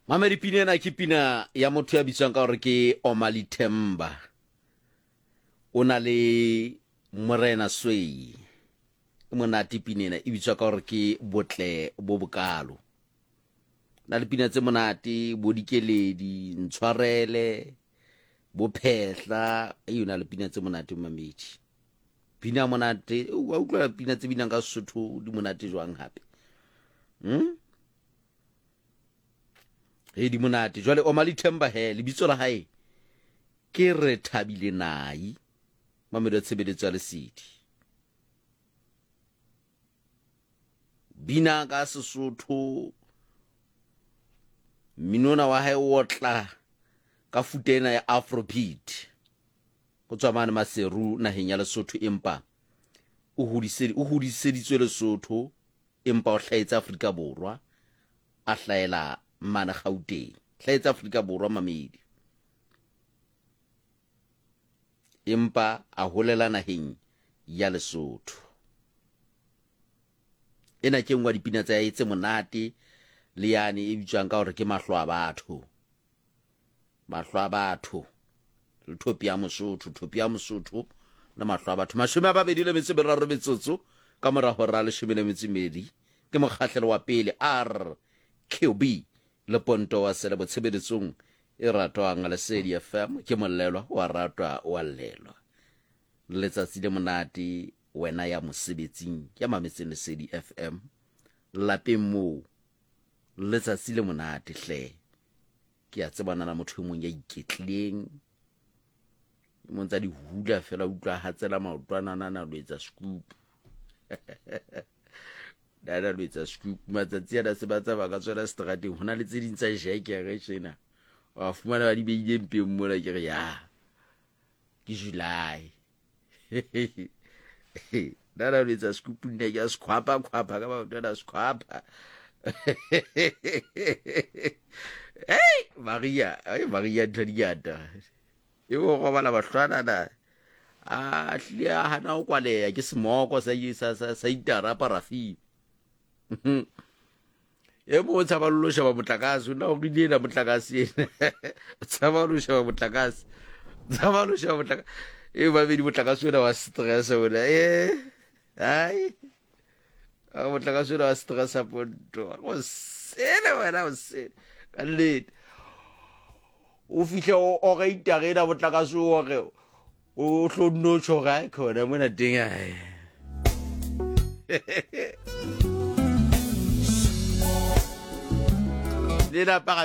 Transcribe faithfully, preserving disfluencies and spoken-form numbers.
Mamedi, pina ena ke pina ya motho ya bitswang ka gore ke Omali Themba. O na le Morena Swei. E monate pina ena, e bitswa ka gore ke Botle bo Bokalo. Na le pina tse monate, bo Dikeledi, Ntshwarele, bo Phehla, e o na le pina tse monate mamedi. Pina monate, wa utlwa pina tse binang ka Sesotho di monate jwang hape. Hmm? He di monate. Jwale Omali Themba he, lebitso la hae ke Re Thabile Nai. Mamedi wa tshebeletso ya Lesedi. Bina ka Sesotho, mminona wa hae o otla ka futa ena ya Afrobeat. O tswa mane Maseru naheng ya Lesotho, empa o hodise o hodiseditswe Lesotho, empa o hlahetse Afrika Borwa, a hlahela mane Gauteng. Hlahetse Afrika Borwa mamedi, empa a holela naheng ya Lesotho. Ena ke nngwe ya dipina tsa hae tse monate, le yane e bitswang ka hore ke Mahlo a Batho. Mahlo a Batho le Thopi ya Mosotho, Thopi ya Mosotho le Mahlo a Batho. Mashome a babedi le metso e meraro metsotso ka mora hora leshome le metso e medi ke mokgahlelo wa pele R Q B le Ponto wa Selebo tshebeletsong e ratwang Lesedi F M ke mollelwa wa ratwa wa llelwa. Letsatsi le monate wena ya mosebetsing ya mametseng Lesedi F M lapeng moo, letsatsi le monate hle. Ke a tsebana na motho e mong ya iketlileng, mo ntsa di hula fela, utlwa hatsela maotwana na na lo etsa scoop. Na na lo etsa scoop. Matsatsi ana se ba tsamaya ka tsona strateng, ho na le tse ding tsa jekere tjena. Wa fumana ba di beile mpeng mona, ke re ya ke July. Na na lo etsa scoop, nna ke a skhwapa khwapa ka maotwana, skhwapa. Hey Maria, hey Maria ntho di ngata. E o robala bahlwana na a hlile a hana ho kwaleha ke semoko sa sa sa, sa itara parafini. E mo tshaba lo sheba motlakase, nna o rile ena motlakase ena. Tshaba lo sheba motlakase. Tshaba lo sheba motlakase. E babedi motlakase ona wa stress ona. Eh. Ai. A motlakase ona wa stress a ponto. O sele wena o sele. Ka nnete. O fihle o ore itare ena motlakase o ore o hlo nno tjho ga khona mona teng ai. Le la para